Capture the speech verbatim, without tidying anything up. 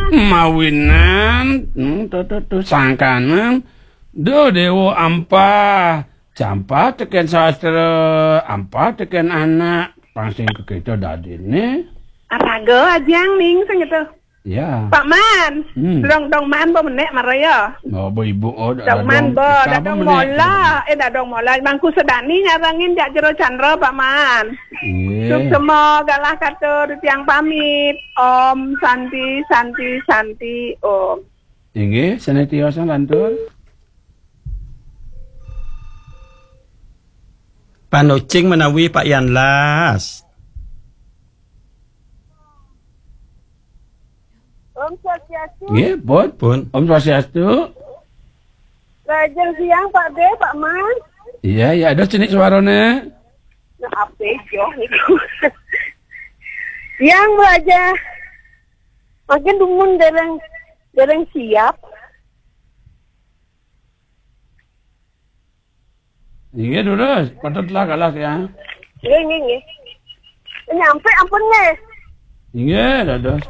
Mawinan, hmm, tu, tu, tu, sangkanan. Duh, Dewa ampah. Jampah tekén sastra, ampah tekén anak. Pang sing kekéto dadiné. Araga ajang ning sing itu. Ya. Pak Man. Hmm. Dong, dong Man, bo menek mara ya. Oh, bo ibu, oh, dong Man, bo, dadong mola. Eh, dadong mola. Mangku Sedani nyarengin jak Jero Chandra, Pak Man. Iya. Suksma galah katur, tiang pamit. Om Santi, Santi, Santi, Om. Inggih, sanetiosan lantur. Panucing menawi Pak Yan Las. Om Swastiastu. Nggih, pun. Pun. Om Swastiastu. Lajeng siang, Pak De, Pak Man. Iya, iya, ada cenik suarane. Nah, apa joh niku? Yang belajar. Makin dumun dereng, dereng siap. Inggih, durus. Patut lah kalah ya. Nggih, nggih, nggih. Nyampe ampun nggih. Inggih, dados.